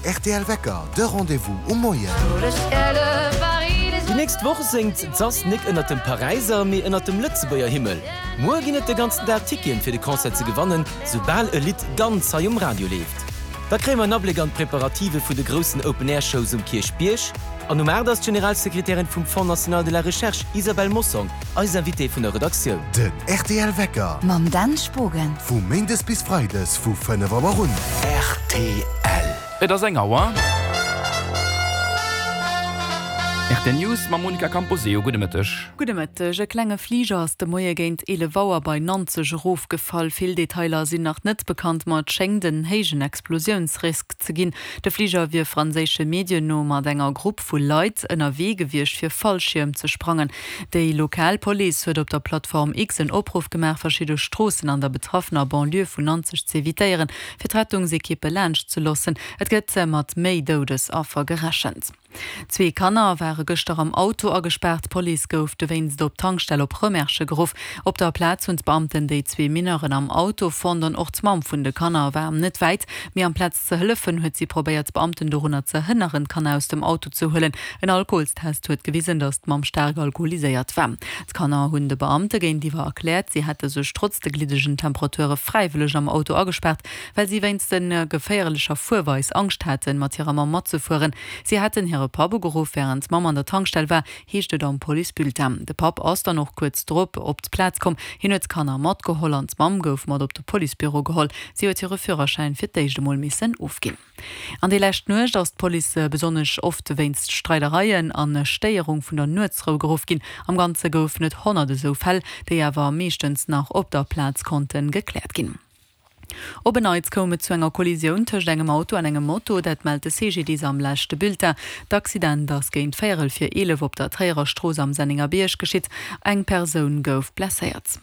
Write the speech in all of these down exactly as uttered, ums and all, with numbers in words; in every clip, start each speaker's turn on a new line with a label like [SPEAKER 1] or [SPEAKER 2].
[SPEAKER 1] rtl Wecker, de Rendez-vous um Moien.
[SPEAKER 2] Déi nächst Woch séngt d'SAS nik ënnert dem Paräiser, mee ënnert dem Lëtzebuerger Himmel. Muer ginn et de ganzen Dag Ticketen fir de Concert ze gewannen, soubal e Lidd ganz hei um Radio leeft. Da kréie mer en Abléck an d'Preparative vun de groussen Open-Air-Shows um Kierchbierg. An um aacht ass d'Generalsekretärin vum Fonds National de la Recherche Isabelle Mossong eis Invitée vun der Redaktioun.
[SPEAKER 1] Den rtl Wecker.
[SPEAKER 3] Mam Dan Spogen.
[SPEAKER 1] Vu méindes bis freides vu fënnef Auer un.
[SPEAKER 4] Rtl.
[SPEAKER 5] Et ass eng Auer. Rtl News mam Monica Camposeo. Gudde Mëtteg.
[SPEAKER 6] Gudde Mëtteg. E klenge Fliger ass de Moie géint eelef Auer bei Nanzeg erofgefall. Vill Detailer sinn nach net bekannt, ma et schéngt en héijen Explosiounsrisk ze ginn. De Fliger wier franséische Medien no mat enger Grupp vu Leit ënnerwee gewiescht fir Fallschierm ze sprangen. Déi lokal Police huet op der Plattform X en Opruff gemaach, verschidde Stroossen an der betraffener Banlieue vun Nanzeg z'evitéieren, fir d'Rettungsekippe laanscht ze loossen. Et gëtt mat méi Doudesaffer gerechent. Zwee Kanner ware gëschter am Auto agespaart. D'Police gouf dowéinst op d'Tankstell op Rëmersche geruff. Op der Plaz hunn d'Beamten déi zwee Mineuren am Auto fonnt an och d'Mamm vun de Kanner war net wäit. Mee amplaz ze hëllefen, huet si probéiert d'Beamten dorunner ze hënneren, d'Kanner aus dem Auto ze huelen. En Alkoholstest huet gewisen, datt d'Mamm staark alkoholiséiert war. D'Kanner hunn de Beamte géintiwwer erkläert, si hätte sech trotz de gliddegen Temperature fräiwëlleg am Auto agespaart, well si wéinst der geféierlecher Fuerweis Angscht haten, mat hirer Mamm matzefueren. Si hätten hire Papp ugeruff, wärend d'Mamm an der Tankstell war, heescht et am Policebulletin. De Papp ass dann och kuerz drop op d'Plaz komm. Hien huet d'Kanner matgeholl an d'Mamm gouf mat op de Policebüro geholl. Si huet hire Führerschäin fir d'éischt emol missen ofginn. An déi lescht Nuecht ass d'Police besonnesch oft wéinst Streidereien an Stéierung vun der Nuetsrou geruff ginn. Am Ganze goufen et honnert esou Fäll, déi awer meeschtens nach op der Plaz konnte gekläert ginn. Op en Neits koum et zu enger Kollisioun tëscht engem Auto an engem Moto, dat mellt de C G D I S am leschte Bulletin. D'Accident ass géint véierel vir eelef op der Tréierer Strooss am Sennengerbierg geschitt. Eng Persoun gouf blesséiert.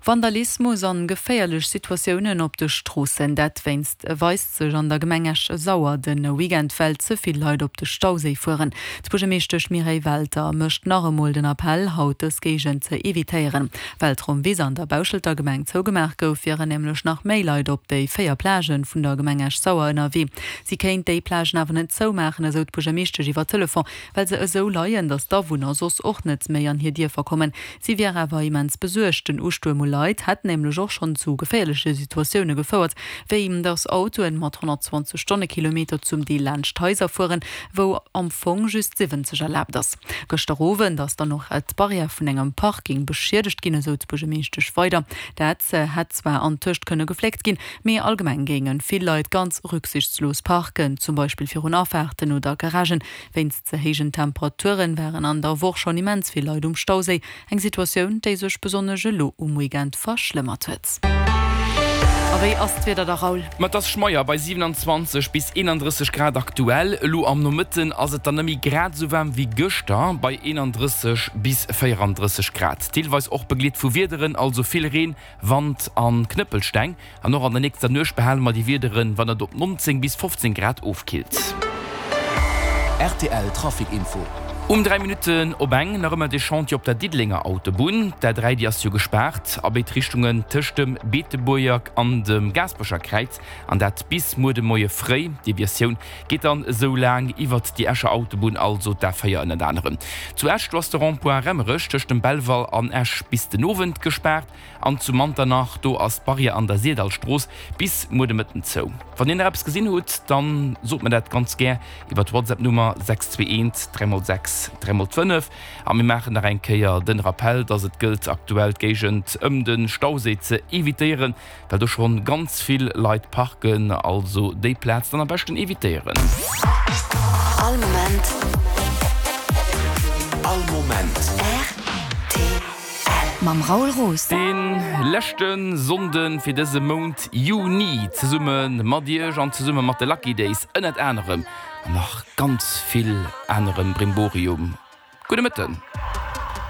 [SPEAKER 6] Vandalismus an geféierlech Situatiounen op de Stroossen, dat wéinst weist sech an der Gemeng Esch-Sauer de Weekend, well ze vill Leit op de Stauséi fueren. D'Buergermeeschtesch Mireille Welter mécht nach emol den Appell, haut dës Géigend ze evitéieren. Well d'Rommwiss an der Bauschelter Gemeng zougemaach gouf, wieren nämlech nach méi Leit op déi véier Plagen vun der Gemeng Esch-Sauer ënnerwee. Si kéint déi Plagen awer net zoumaachen, esou d'Buergermeeschtesch iwwer Telefon, well se esou leien, datt d'Awunner soss och net méi an hir Dierfer kommen. Si wier awer immens besuergt. Den Ustuerm u Leit hätt nämlech och schonn zu geféierleche Situatioune gefouert, wéi datt Autoen mat honnertzwanzeg Stonnekilometer zum Deel laanscht Haiser fueren, wou am Fong just siwwenzeg erlaabt ass. Gëschter Owend ass dann och d'Barrière vun engem Parking beschiedegt ginn, esou d'Buergermeeschtesch weider. Dat hätt zwar antëscht kënne gefléckt ginn, mee allgemeng géinge vill Leit ganz rücksichtslos parken, zum Beispill virun Afaarten oder Garagen. Wéinst ze héijen Temperaturen waren an der Woch schonn immens vill Leit um Stauséi, eng Situatioun, déi sech besonnesch elo um Weekend verschlëmmert huet. A wéi ass d'Wieder da, Raoul?
[SPEAKER 5] Ma et ass schmeier bei siwenanzwanzeg bis eenandrësseg Grad aktuell. Elo am Nomëtten ass et dann net méi grad esou waarm wéi gëschter bei eenandrësseg bis véierandrësseg Grad. Deelweis och begleet vu Wiederen, also vill Reen, Wand a Knëppelsteng. An och an der nächster Nuecht behale mer déi Wiederen, wann et op nonzéng bis fofzéng Grad ofkillt.
[SPEAKER 4] Rtl Trafic Info.
[SPEAKER 5] Um dräi Minutten op eng nach ëmmer de Chantier op der Diddelenger Autobunn. D'A dräi déi ass jo gespaart a béid Richtungen tëscht dem Beetebuerger an dem Gaasperecher Kräiz an dat bis muer de Moie fréi. D'Deviatioun geet dann esou laang iwwert déi Escher Autobunn, also d'A véier ënnert anerem. Zu Esch, do ass de Rond-point Remmerech tëscht dem Belval an Esch bis den Owend gespaart an zu Manternach, do ass d'Barrière an der Syrdallstrooss bis muer de Mëtten zou. Wann dir nach eppes gesinn hutt, dann sot mer dat ganz gär iwwer d'WhatsApp-Nummer sechs zwee eent dräi mol sechs dräi mol fënnef. A mir maachen nach eng Kéier den Rappell, dass et gëllt aktuell d'Géigend ëm de Stauséi ze evitéieren, well do schonn ganz vill Leit parken. Also déi Plaz dann am beschten evitéieren.
[SPEAKER 3] All Moment.
[SPEAKER 4] All Moment.
[SPEAKER 3] Rtl. Mam Raoul Roos.
[SPEAKER 5] Dee leschte Sonnde fir dëse Mount Juni zesumme mat Iech an zesumme mat de Lucky Days ënnert anerem an nach ganz vill anerem Brimborium. Gudde Mëtten.